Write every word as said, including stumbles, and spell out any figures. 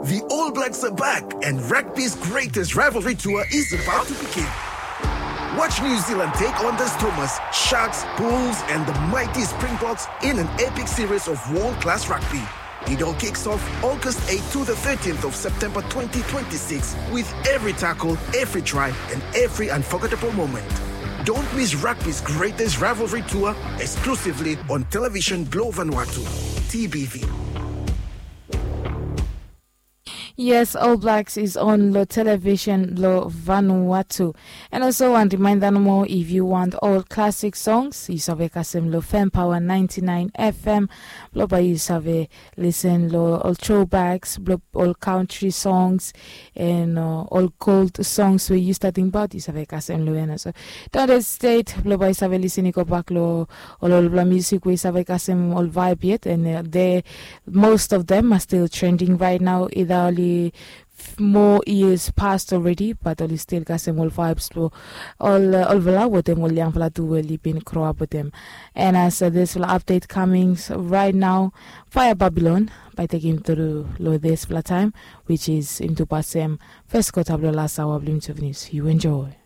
The All Blacks are back, and rugby's greatest rivalry tour is about to begin. Watch New Zealand take on the Stormers, Sharks, Bulls, and the mighty Springboks in an epic series of world class rugby. It all kicks off August eighth to the thirteenth of September twenty twenty-six, with every tackle, every try, and every unforgettable moment. Don't miss rugby's greatest rivalry tour, exclusively on Television Globe Vanuatu, T B V. Yes, All Blacks is on lo television lo Vanuatu. And also wan reminder nomo, if you want all classic songs, you save kasem lo Fan Power ninety-nine F M. Blo bae you save listen lo all throwbacks, blo all country songs, and uh, all gold songs we you starting about, you save kasem lo ena. So don't hesitate, blo bae you save listen, you go back lo all, all bla music we you save kasem all vibe yet, and uh, they most of them are still trending right now. Ida oli more years passed already, but oli still kasem ol vibes blo ol uh, ol vala wetem ol yang vala tu we oli bin grow up wetem. And as uh, this vala update coming right now, Fire Babylon by taking through lo this vala time, which is into pasem first quarter blo last hour blo news. You enjoy.